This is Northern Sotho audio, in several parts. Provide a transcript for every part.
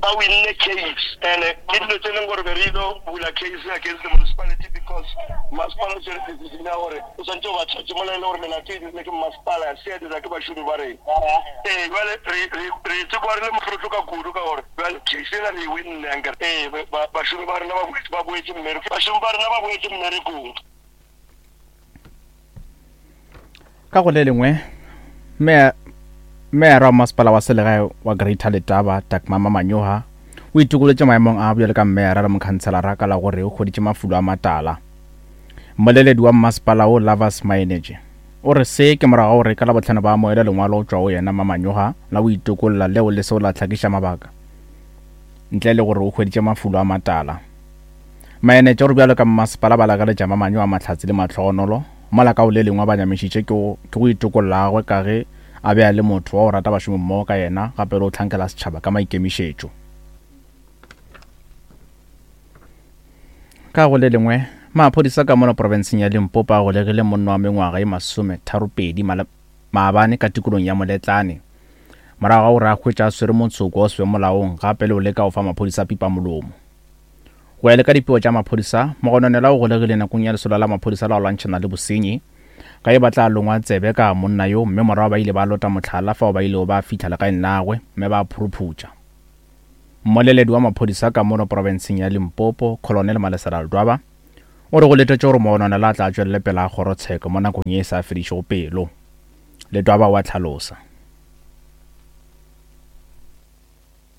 Ba winne case and ke dilo tse leng gore be re ile bula case against the municipality because masepala o tsere decision ya gore o swantse o ba charge mola e le gore melato e dirile ke masepala ya se ya dira ke bašomi ba rena. Ee jwale re re re tsekwa re le mohlotlo ka kudu ka gore jwale case ela re e winne ankere. Ee bašomi ba rena ba boetse ba boetse mmerekong bašomi ba rena ba boetse mmerekong. Ka go le lengwe, meyara wa masepala wa selegae wa Greater Letaba, Dagmama Manyoha, o itokolotše maemong a bjalo ka meyara le mokhanselara ka la gore o hweditše mafulo a matala. Mmoleledi wa mmasepala wo Lovers Maenetše o re se ke morago ga gore ka Labohlano ba amoele lengwalo go tšwa go yena Mamanyoha la go itokolla leo le seo la hlakiša mabaka ntle le gore o hweditše mafulo a matala. Maenetša o re bjalo ka mmasepala ba lakaletša Mamanyo a mahlatse le mahlogonolo, mola ka go le lengwe a ba nyamišitše ke go ke go itokolla gagwe ka ge a be a le motho wa go rata bašomimmogo ka yena gape le go hlankela setšhaba ka maikemišetšo. Ka go le lengwe, maphodisa ka mola profenseng ya Limpopo a golegile monna wa mengwaga ye masometharopedi maabane ka tikolong ya Moletlane morago ga gore a hwetša a swere motsoko wa o se be molaong gape le go leka go fa maphodisa pipamolomo. Go ya le ka dipego tša maphodisa, mogononelwa o golegile nakong ya lesolo la maphodisa la go lwantšhana le bosenyi. Ka ge ba tla longwa tsebe ka monna yo mme morago ba ile ba lota mohlala fao ba ilego ba fihla legaeng la gagwe mme ba phuruphutša. Mmoleledi wa maphodisa ka mono profenseng ya Limpopo, Colonel Malesela Ledwaba, o re go letetšwe gore mogononelwa a tla tšwelele pele ga kgorotsheko mo nakong ye e sa fedišego pelo. Ledwaba o a hlalosa.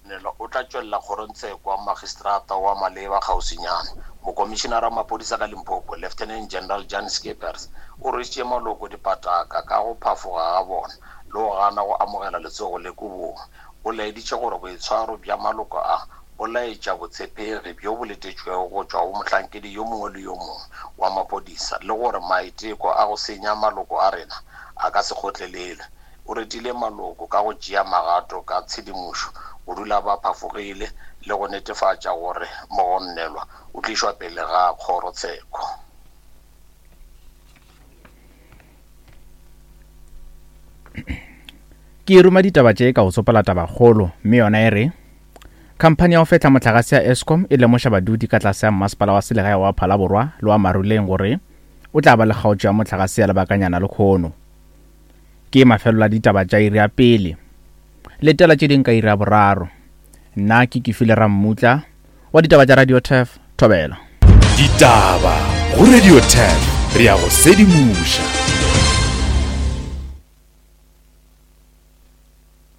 Nelo o tla tšwelela kgorongtsheko wa magistrata wa maleba kgauswinyana. Mokomišinara wa maphodisa ka Limpopo, Lieutenant General Jan Scheepers, o rwešitše maloko dipataka ka go phafoga ga bona le go gana go amogela letsogo le kobong. O laeditše gore boitshwaro bja maloko a bo laetša botshepegi bjo bo letetšwego go tšwa go mohlankedi yo mongwe le yo mongwe wa maphodisa le gore maiteko a go senya maloko a rena a ka se kgotlelelwe. O retile maloko ka go tšea magato ka tshedimošo go dula ba phafogile le go netefatša gore mogonnelwa o tlišwa pele ga kgorotsheko. Ke ruma ditaba tše ka go tsopola tabakgolo, mme yona e re, Khamphani ya go fehla mohlagase ya Eskom e lemoša badudi ka tlase ga mmasepala wa selegae wa Phalaborwa le wa Maruleng gore o tla ba le kgaotšo ya mohlagase ya lebakanyana lekhono. Ke mafelelo a ditaba tša iri ya pele. Letela tše ding ka iri ya boraro. Nna ke Kefile Rammutla wa ditaba tša Radio Turf, Thobela. Ditaba go Radio Turf, re a go sedimoša.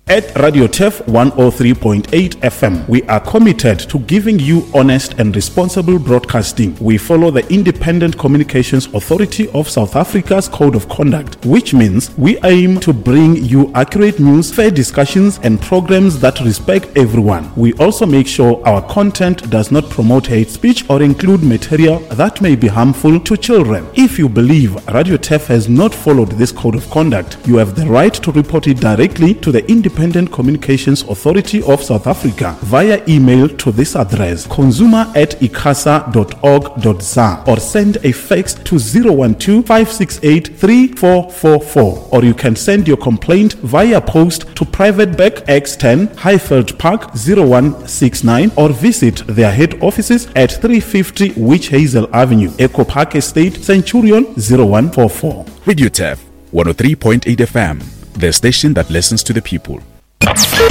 At Radio Turf 103.8 FM, we are committed to giving you honest and responsible broadcasting. We follow the Independent Communications Authority of South Africa's Code of Conduct, which means we aim to bring you accurate news, fair discussions, and programs that respect everyone. We also make sure our content does not promote hate speech or include material that may be harmful to children. If you believe Radio Turf has not followed this code of conduct, you have the right to report it directly to the Independent Communications Authority of South Africa via email to this address consumer at icasa.org.za or send a fax to 012 568 3444 or you can send your complaint via post to Private Bank X10 Highveld Park 0169 or visit their head offices at 350 Witch Hazel Avenue, Echo Park Estate, Centurion 0144. Radio Turf 103.8 FM, the station that listens to the people.